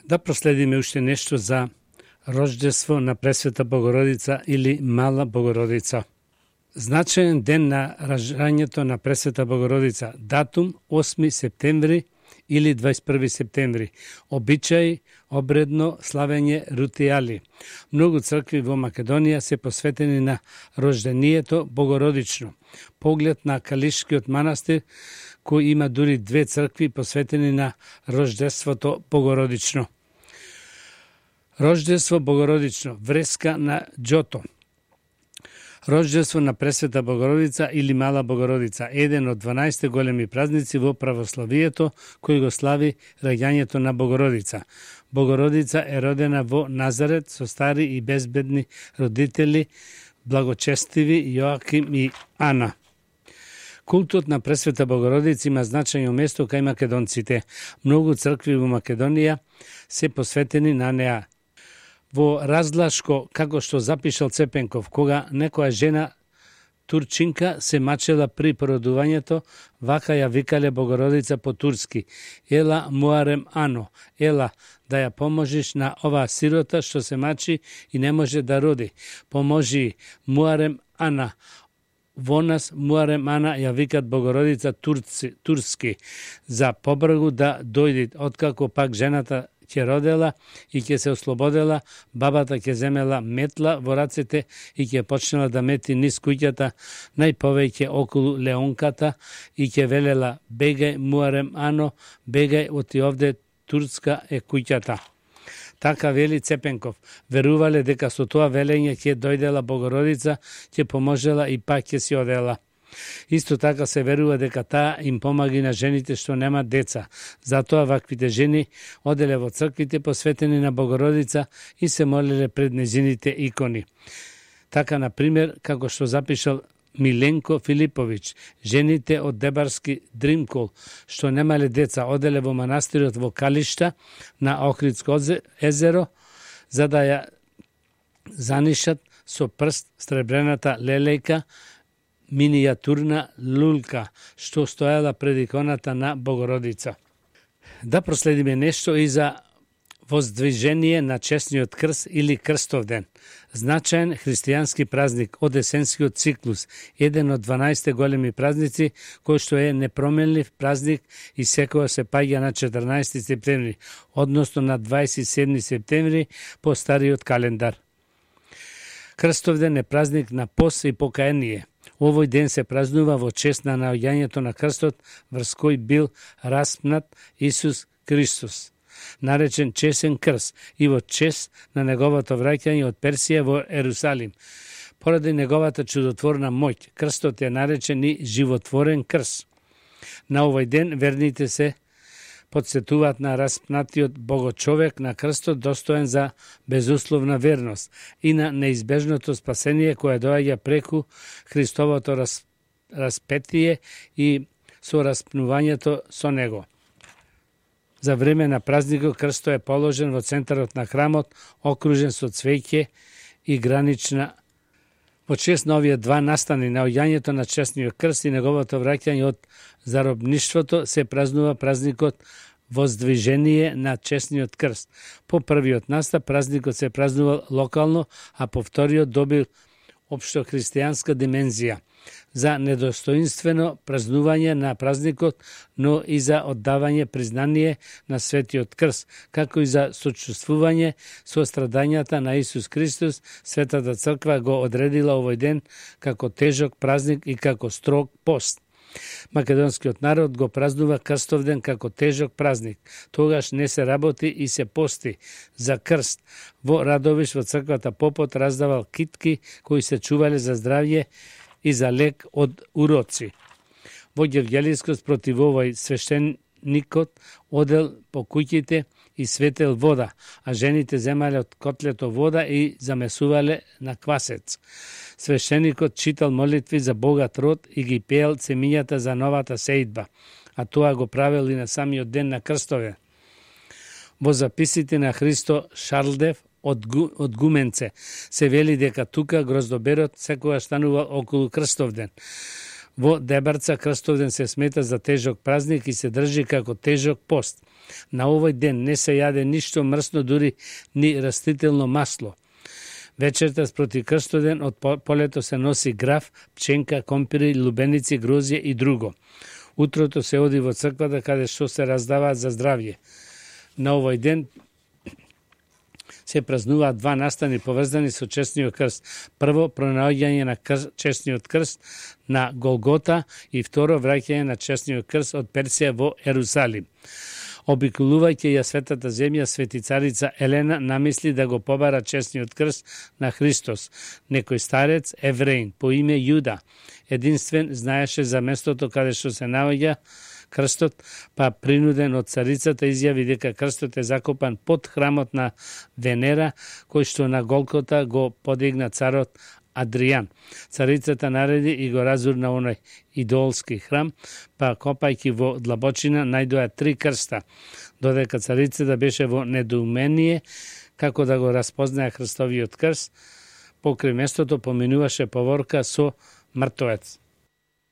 Да проследиме уште нешто за рождество на Пресвета Богородица или Мала Богородица. Значаен ден на ражањето на Пресвета Богородица, датум 8 септември или 21 септември. Обичај, обредно славење ритуали. Многу цркви во Македонија се посветени на рождението Богородично. Поглед на Калишкиот манастир, кој има дури 2 цркви посветени на рождеството Богородично. Рождество Богородично, вреска на Џото. Рождество на Пресвета Богородица или Мала Богородица, еден од 12 големи празници во православието, кој го слави раѓањето на Богородица. Богородица е родена во Назарет со стари и безбедни родители, благочестиви Јоаким и Ана. Култот на Пресвета Богородица има значајно место кај македонците. Многу цркви во Македонија се посветени на неа. Во Разлашко, како што запишал Цепенков, кога некоја жена турчинка се мачела при породувањето, вака ја викале Богородица по турски: "Ела Муарем Ано, ела да ја поможиш на оваа сирота што се мачи и не може да роди. Поможи Муарем Ана." Во нас Муарем Ана ја викат Богородица турски, за побргу да дојдит, откако пак жената ќе родела и ќе се ослободела, бабата ќе земела метла во рацете и ќе почнела да мети низ куќата, најповеќе околу леонката, и ќе велела: "Бегај Муарем Ано, бегај, оти овде турска е куќата." Така вели Цепенков. Верувале дека со тоа велење ќе дојдела Богородица, ќе поможела и пак ќе си одела. Исто така се верува дека таа им помаги на жените што немаат деца. Затоа ваквите жени оделе во црквите посветени на Богородица и се молеле пред незините икони. Така, например, како што запишал Миленко Филиповиќ, жените од Дебарски Дримкол, што немале деца, оделе во манастирот во Калишта на Охридско езеро, за да ја занишат со прст сребрената лелејка, минијатурна лулка, што стоела пред иконата на Богородица. Да проследиме нешто и за воздвижение на честниот крст или крстовден. Значаен христијански празник од есенскиот циклус, еден од 12 големи празници, кој што е непроменлив празник и секоја се паѓа на 14 септември, односно на 27 септември по стариот календар. Крстовден е празник на пост и покаяние. Овој ден се празнува во чест на наоѓањето на крстот, врз кој бил распнат Исус Христос, наречен чесен крст, и во чест на неговото враќање од Персија во Ерусалим. Поради неговата чудотворна моќ, крстот е наречен и животворен крст. На овој ден верните се подсетуваат на распнатиот богочовек на крстот, достоен за безусловна верност, и на неизбежното спасение кое доаѓа преку Христовото распетие и со распнувањето со него. За време на празникот крстот е положен во центарот на храмот, окружен со цвеќе и гранична. Во чест на овие два настани, наоѓањето на честниот крст и неговото враќање од заробништвото, се празнува празникот Воздвижение на честниот крст. По првиот настап празникот се празнувал локално, а по вториот добил општо христијанска димензија. За недостоинствено празнување на празникот, но и за оддавање признание на Светиот Крст, како и за сочувствување со страдањата на Исус Христос, Светата Црква го одредила овој ден како тежок празник и како строг пост. Македонскиот народ го празнува крстовден како тежок празник. Тогаш не се работи и се пости за крст. Во Радовиш во црквата попот раздавал китки кои се чувале за здравје и за лек од уроци. Во Гевгелискот спротив овој свештеникот одел по куќите и светел вода, а жените земале од котлето вода и замесувале на квасец. Свештеникот читал молитви за богат род и ги пеел цемињата за новата сеидба, а тоа го правил и на самиот ден на крстове. Во записите на Христо Шарлдев од Гуменце се вели дека тука гроздоберот секогаш станува околу крстовден. Во Дебарца крстовден се смета за тежок празник и се држи како тежок пост. На овој ден не се јаде ништо мрсно, дури ни растително масло. Вечерта спроти крстоден од полето се носи граф, пченка, компири, лубеници, грозје и друго. Утрото се оди во црквата каде што се раздаваат за здравје. На овој ден се празнуваат два настани поврзани со честниот крст. Прво, пронаоѓање на честниот крст на Голгота и второ, враќање на честниот крст од Персија во Ерусалим. Обиколувајќи ја светата земја, светицарица Елена намисли да го побара честниот крст на Христос. Некој старец, евреин, по име Јуда, единствен знаеше за местото каде што се наоѓа крстот, па принуден од царицата изјави дека крстот е закопан под храмот на Венера, кој што на Голгота го подигна царот Адријан. Царицата нареди и го разурна оној идолски храм, па копајќи во длабочина најдоа 3 крста, додека царицата беше во недоумение како да го распознае Христовиот крст. Покрај местото поминуваше поворка со мртвец.